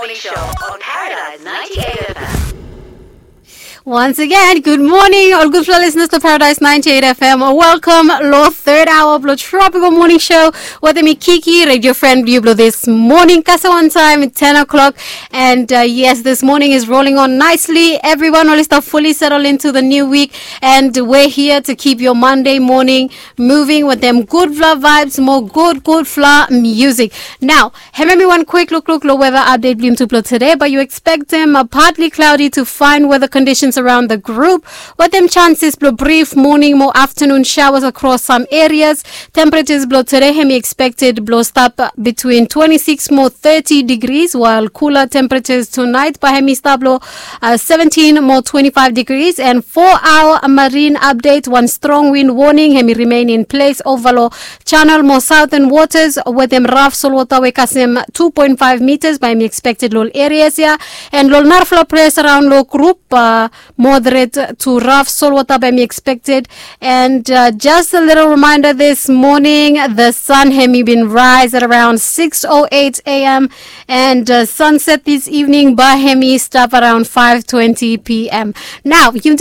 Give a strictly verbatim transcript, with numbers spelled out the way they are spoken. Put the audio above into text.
Morning Show on Paradise ninety-eight F M. Once again, good morning, ol gudfala listeners to Paradise ninety-eight F M. Welcome lo third hour blo Tropical Morning Show with me, Kiki, radio friend blo this morning. Kasem wan taem, ten o'clock. And uh, yes, this morning is rolling on nicely. Everyone oli stap fully settle into the new week. And we're here to keep your Monday morning moving with them gudfala vibes, mo gud gudfala music. Now, hemi wan quick lukluk lo weather update blo yutublo today, but you expect them uh, partly cloudy to fine weather conditions around the group, with them chances blo brief morning mo afternoon showers across some areas. Temperatures blo today hemi expected blo stap uh, between twenty-six mo thirty degrees, while cooler temperatures tonight bae hemi stap lo uh, seventeen mo twenty-five degrees. And four hour marine update, wan strong wind warning hemi remain in place ova lo channel mo southern waters, with them raf solwota we kasem two point five meters bae hemi expected lo ol areas ia. And lo ol narafala ples around lo group uh, moderate to raf solwota bae hemi expected. And uh, just a little reminder, this morning the sun hemi bin rise at around six oh eight a.m. And uh, sunset this evening bae hemi stap around five twenty p.m. Now yumi